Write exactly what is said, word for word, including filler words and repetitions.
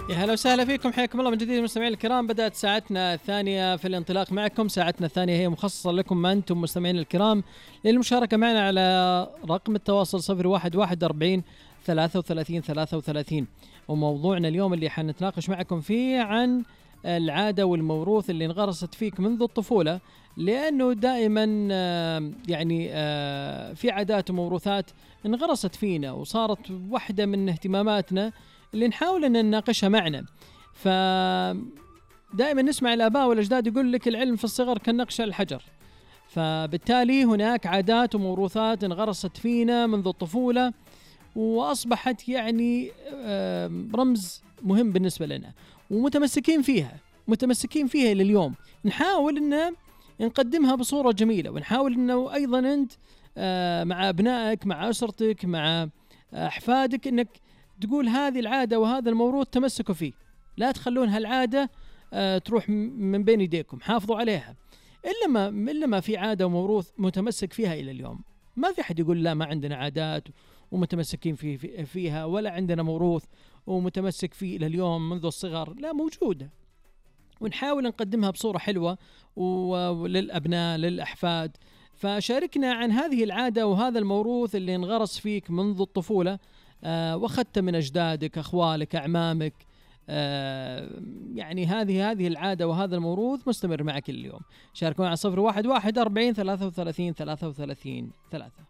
يا هلا وسهلا فيكم، حياكم الله من جديد مستمعين الكرام. بدأت ساعتنا الثانية في الانطلاق معكم. ساعتنا الثانية هي مخصصة لكم أنتم مستمعين الكرام للمشاركة معنا على رقم التواصل صفر واحد واحد أربعين ثلاثة وثلاثين ثلاثة وثلاثين. وموضوعنا اليوم اللي حنتناقش معكم فيه عن العادة والموروث اللي انغرست فيك منذ الطفولة، لأنه دائما يعني في عادات وموروثات انغرست فينا وصارت واحدة من اهتماماتنا اللي نحاول أن نناقشها معنا. فدائما نسمع الآباء والأجداد يقول لك العلم في الصغر كالنقش على الحجر، فبالتالي هناك عادات وموروثات انغرست فينا منذ الطفولة وأصبحت يعني رمز مهم بالنسبة لنا ومتمسكين فيها متمسكين فيها إلى اليوم. نحاول أن نقدمها بصورة جميلة، ونحاول أنه أيضا أنت مع أبنائك مع أسرتك مع أحفادك أنك تقول هذه العادة وهذا الموروث تمسكوا فيه، لا تخلون هالعادة تروح من بين يديكم، حافظوا عليها. إلا ما, إلا ما في عادة وموروث متمسك فيها إلى اليوم. ما في حد يقول لا ما عندنا عادات ومتمسكين في فيها، ولا عندنا موروث ومتمسك فيه إلى اليوم منذ الصغر. لا، موجودة، ونحاول نقدمها بصورة حلوة وللأبناء للأحفاد. فشاركنا عن هذه العادة وهذا الموروث اللي انغرس فيك منذ الطفولة، آه واخذت من أجدادك أخوالك أعمامك. آه يعني هذه هذه العادة وهذا الموروث مستمر معك اليوم. شاركونا على صفر واحد واحد أربعين ثلاثة وثلاثين ثلاثة وثلاثين ثلاثة.